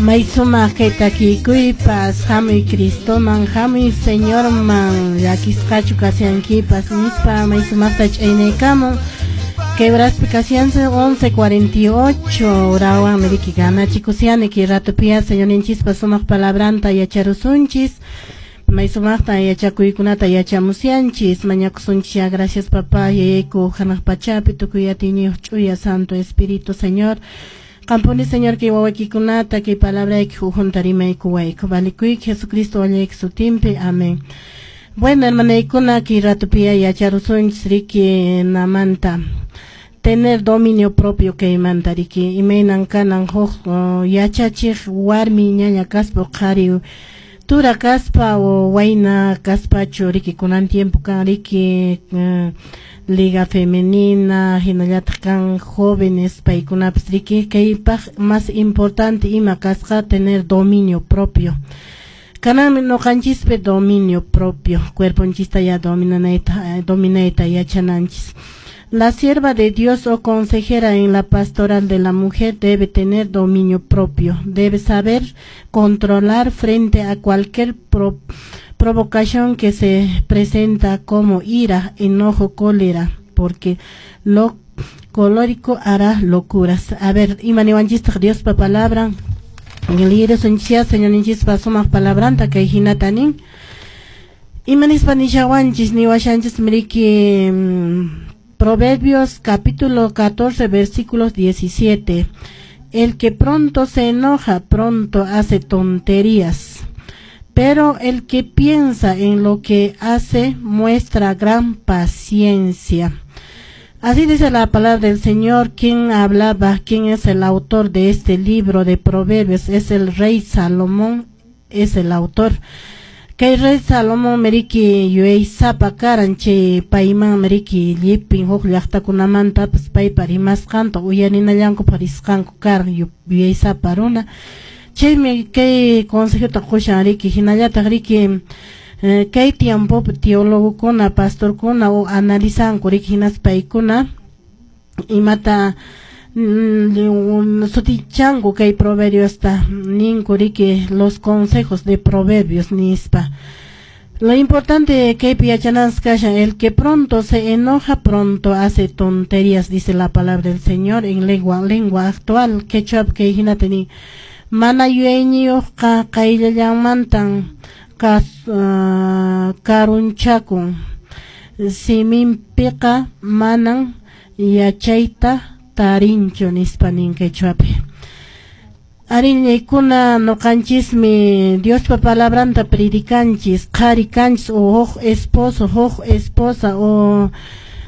May sumaq kay takikuypas, hamuy Cristoman, hamuy Señorman, llakisqachu kashankipas nispa may sumaqta ch'aynaykamun. Kay horaspi kashansi 11:48 horawanmi riki ganachikusiani kay ratopiya Señorninchispa sumaq palabranta yacharusunchis. May sumaqta yachakuykunata yachamusyanchis, mañakusunchis ya, gracias, papá, yayayku hanaq pachapi tukuy atiyniyuq ch'uya Santo Espíritu, Señor. Qampuni, Señor, kay wawaykikunata kay palabrayki hujunta rimaykuwayku. Valikuyki Jesucristo wallayki sutinpi. Amén. Bueno, hermanaykuna, kay ratopiya yacharusunchis riki namanta. Tener dominio propio kaymanta riki imaynan kanan huk yachachiq warmi ñaña kaspa, qhari tura kaspa o wayna kaspachu riki kunan tiempo kan riki liga femenina, hinallataq kan jóvenes paykunapas riki kaypaq más importante ima kasqa tener dominio propio. Kananmi ñuqanchispi dominio propio, cuerponchista ya dominanayta, dominayta yachananchis. La sierva de Dios o consejera en la pastoral de la mujer debe tener dominio propio, debe saber controlar frente a cualquier provocación que se presenta como ira, enojo, cólera, porque lo colérico hará locuras. A ver, ima niwanchistaq Diospa palabra. Liyirusunchis Señorninchispa sumaq palabranta kay hinata nin. Ima nispa nishawanchis niwashanchis riki Proverbios capítulo 14, versículos 17. El que pronto se enoja, pronto hace tonterías. Pero el que piensa en lo que hace, muestra gran paciencia. Así dice la palabra del Señor. ¿Quién hablaba? ¿Quién es el autor de este libro de Proverbios? Es el rey Salomón, es el autor. Kay rey Salomón riki yuyaysapa karan, chay payman riki llipin huk llaqtakunamantapas paypa rimasqanta uyarinallanku risqanku karan, yuyaysapa runa. Chaymi kay consejota qushan riki, hinallataq riki kay tiempopi teologokuna, pastorkuna o analizanku riki, hinaspa paykuna imata sutichanku kay proverbiosta, ninku riki los consejos de Proverbios nispa. Lo importante kaypi yachananchis kashan: el que pronto se enoja, pronto hace tonterías, dice la palabra del Señor en lengua actual quechua. Kay hinata nin: mana yuyayniyuqqa qayllallanmantan karunchakun, siminpiqa manan yachayta tarinchu, nispa nin quechuapi. Ariñaykuna, ñuqanchismi Diospa palabranta predicanchis, qhari kanchis o huk esposo, huk esposa o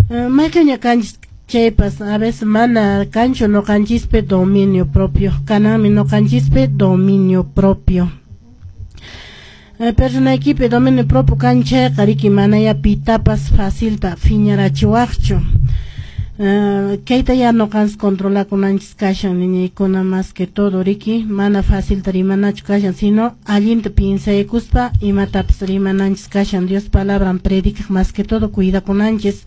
mayqinña kanchis chaypas, a veces mana kanchu ñuqanchispi dominio propio. Kananmi ñuqanchispi dominio propio. Personaykipi dominio propio kan chayqa riki manaya pitapas facilta phiñarachiwaqchu. Kayta ya ñuqanchis controlakunanchis kashan, niñaykuna, más que todo riki mana facilta rimanachu kashan, sino allinta piensaykuspa imatapas rimananchis kashan. Dios palabran predicaq más que todo cuidakunanchis.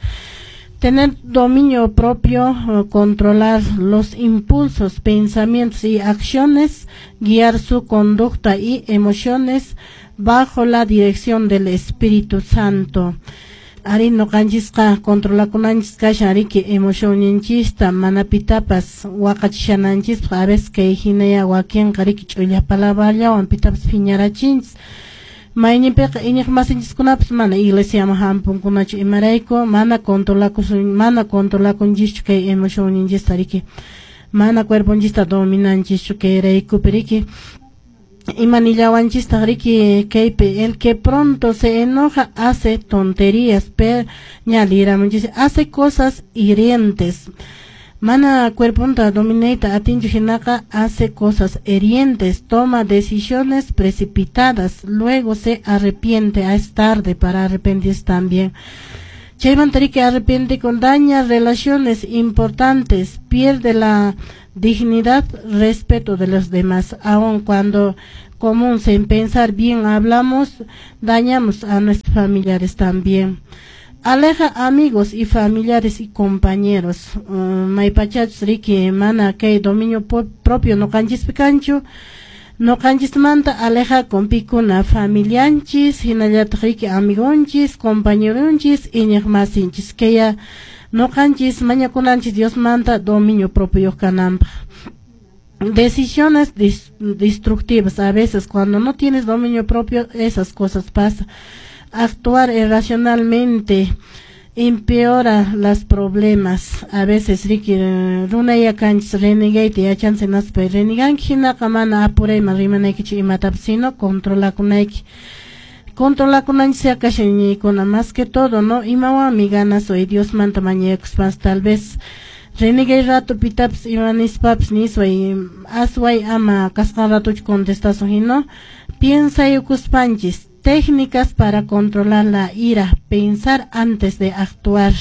Tener dominio propio, controlar los impulsos, pensamientos y acciones, guiar su conducta y emociones bajo la dirección del Espíritu Santo. Ari, ñuqanchisqa controlakunanchis kashan riki emocionninchista mana pitapas waqachishananchispaq. A veces kay hinaya wakinqa riki ch'ulla palabrallawan pitapas phiñarachinchis. Mayninpiqa iñiq masinchiskunapas mana iglesiaman hampunkunachu. Imarayku? Mana controlakusun, mana controlakunchischu kay emocionninchista riki, mana cuerponchista dominanchischu kayraykupi riki. Ima nillawanchistaq riki kaypi: el que pronto se enoja hace tonterías, pero ña liramunchis, hace cosas hirientes. Mana cuerponta dominayta atinchu hinaqa hace cosas hirientes, toma decisiones precipitadas, luego se arrepiente, es tarde para arrepentirse también. Chaymanta riki arrepiente con daña relaciones importantes, pierde la dignidad, respeto de los demás. Aun cuando común sin pensar bien hablamos, dañamos a nuestros familiares también. Aleja amigos y familiares y compañeros. Maypachachus riki mana kay dominio propio ñuqanchispi kanchu. Noqanchismanta alejakun pikuna familianchis, hinallataq riki amigonchis, compañeronchis, iñiqmasinchis. Kaya noqanchis mañakunanchis Diosmanta dominio propio kananpaq. Decisiones destructivas. A veces cuando no tienes dominio propio, esas cosas pasan. Actuar irracionalmente empeora los problemas. A veces riki runaya kanchis renegayta yachansi naspa reneganki hinaqa mana apurayman rimanaykichu imatapas, sino controlakunayki. Controlakunanchis kashan iñiykuna más que todo, ¿no? Imawanmi ganasoy Diosmanta mañakuspas tal vez renegay rato pitapas ima nispapas nisway asway ama kasqan ratochu contestasun hino piensayukuspanchis. Técnicas para controlar la ira, pensar antes de actuar.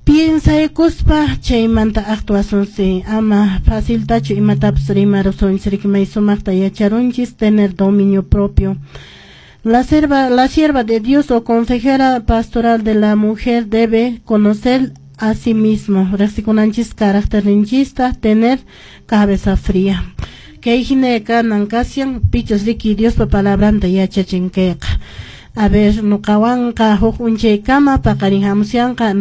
Piensaykuspa chaymanta actuasunsi ama faciltachu imatapas rimarusunchis riki may sumaqta yacharunchis tener dominio propio. La sierva de Dios o consejera pastoral de la mujer debe conocer a sí mismo, riqsikunanchis carácter tener cabeza fría. Kay hina kanan kashan pichus riki Diospa palabranta yachachin kayqa. A ver, nuqawanqa huk unchaykama paqarin hamusyanqa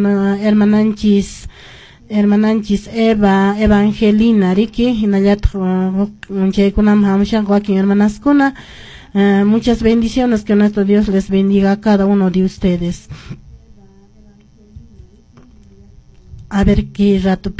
hermananchis Eva Evangelina riki hinallataq huk unchaykunaman hamusyanqa wakin hermanaskuna. Muchas bendiciones, que nuestro Dios les bendiga a cada uno de ustedes. A ver qué rato.